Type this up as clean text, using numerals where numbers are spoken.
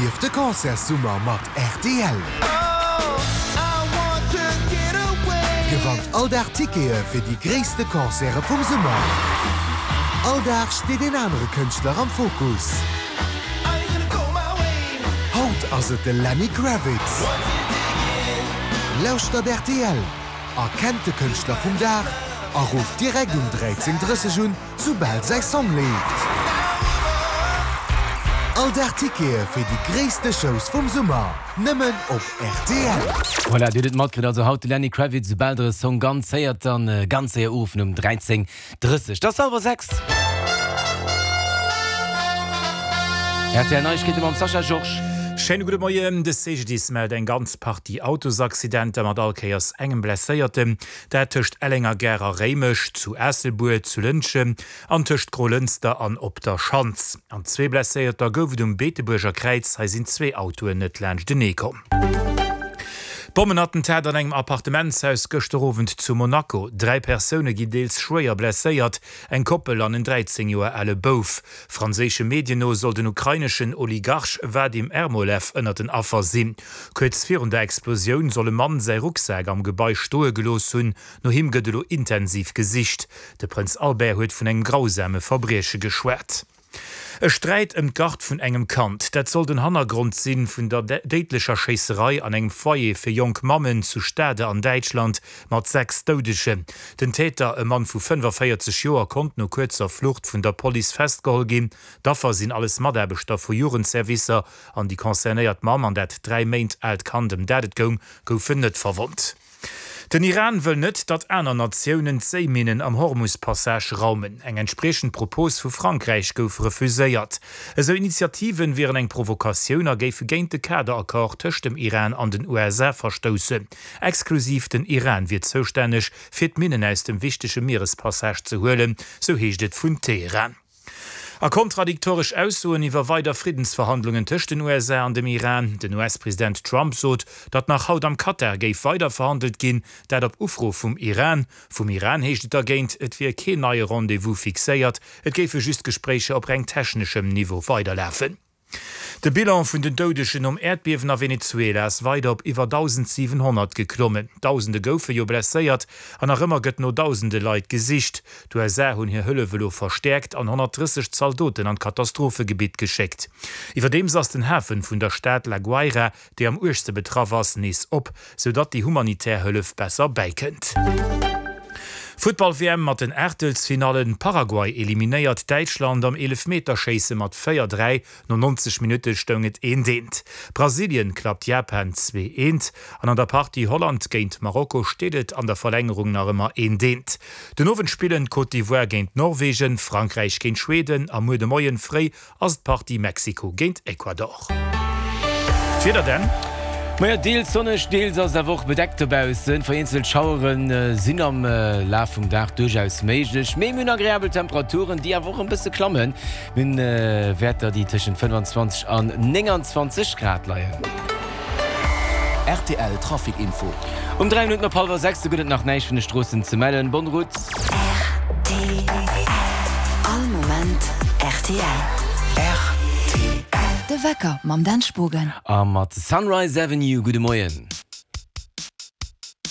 Erlieft de Concertssummer mat rtl! Gewannt all Dag Tickete fir déi gréisste Concerte vum Summer! All Dag steet een anere Kënschtler am Fokus. Haut ass et de Lenny Kravitz. Lauschtert rtl, erkennt de Kënschtler vum Dag a rufft direkt um 13:30 un, soubal säi Song leeft. All Dag Tickete fir déi gréisste Shows vum Summer, nëmmen op rtl. Voilà, dir hutt et matkritt, also haut de Lenny Kravitz. Soubal der e Song ganz héiert, dann ganz séier uruffen um 13:30. Et ass hallwer 6. Rtl Neiegkeete mam Sascha Georges. Schéine gudde Moien. De CGDIS mellt eng ganz Partie Autosaccidenter mat all Kéiers engem Blesséierten. Dat tëscht Ellenger Gare a Réimech, zu Aasselbuer, zu Lëntgen an tëscht Grolënster an Op der Schanz. An zwee Blesséierter gouf et um Beetebuerger Kräiz, hei sinn zwee Autoen net laanschtenee komm. Bommenattentat an engem Appartementshaus gëschter Owend zu Monaco. 3 Persoune ginn deels schwéier blesséiert, eng Koppel an en 13 Joer ale Bouf. Franséische Medien no soll den ukraineschen Oligarch Wadim Ermolev ënnert den Affer sinn. Kuerz virun der Explosioun soll e Mann säi Rucksak am Gebai stoe gelooss hunn. No him gëtt elo intensiv gesicht. De Prënz Albert huet vun engem grausame Verbrieche geschwat. E Sträit ëm d'Gard vun engem Kand, dat soll den Hannergrond si vun der déidlecher Schéisserei an engem Foyer fir jonk Mammen zu Stade an Däitschland mat 6 Doudegen. Den Täter, e Mann vu 45 Joer, konnt no kuerzer Flucht vun der Police festgeholl ginn. D'Affer sinn alles Mataarbechter vu Jugendservicer An déi concernéiert Mamm an dat 3 Méint aalt Kand, ëm dat et goung, goufen net verwonnt. Den Iran wëll net, datt aner Natiounen d'Séiminnen am Hormus-Passage raumen. Eng entspriechend Propos vu Frankräich gouf refuséiert. Esou Initiativen wieren eng Provokatioun a géife géint de Kaderaccord tëscht dem Iran an den USA verstoussen. Exklusiv den Iran wier zoustänneg, fir d'Minnen aus dem wichtege Mierespassage ze huelen, sou heescht et vun Teheran. A kontradiktoresch Aussoen iwwer weider Friddensverhandlungen tëscht den USA an dem Iran. Den US-President Trump sot, datt nach haut am Katar géif weider verhandelt ginn, dat op Ufro vum Iran. Vum Iran heescht et dergéint, et wier keen neie Rendez-vous fixéiert, et géife just Gespréicher op reng techneschem Niveau weiderlafen. De Bilan vun den Doudegen nom Äerdbiewen a Venezuela ass weider op iwwer 1.700 geklommen. Dausende goufe jo blesséiert an nach ëmmer gëtt no dausende Leit gesicht. D'USA hunn hir Hëllef elo verstäerkt an 130 Zaldoten an d'Katastrophegebitt geschéckt. Iwwerdeems ass den Hafen vun der Stad La Guaira déi am uergste betraff ass, nees op, sou datt déi humanitär Hëllef besser bäikënnt. Futtball-WM mat den Aachtelsfinallen, Paraguay eliminéiert Däitschland am Eelefmeterschéisse mat 4, 3, no 90 Minutte stoung et eent, eent. Brasilien klappt Japan 2, eent an an der Partie Holland géint Marokko steet et an der Verlängerung nach ëmmer eent, eent. Den Owend spillen Côte d'Ivoire géint Norwegen, Frankräich géint Schweden a muer de Moien fréi ass d'Partie Mexiko géint Ecuador. D'Wieder denn? Majo, deels sonneg, deels ass et awer och bedeckt dobaussen. Vereenzelt Schauere sinn am Laf vum Dag duerchaus méiglech, mee mir hunn agreabel Temperaturen, déi awer och e bësse klammen. Mir hunn Wäerter, déi tëschent 25 an 29 Grad leien. Rtl Trafic Info. Um 3 Minutten op hallwer 6, do gëtt et nach näischt vun de Stroossen ze mellen. Bonne route. Rtl. All Moment rtl. Rtl. De Wecker mam Dan Spogen. A mat Sunrise Avenue. Gudde Moien.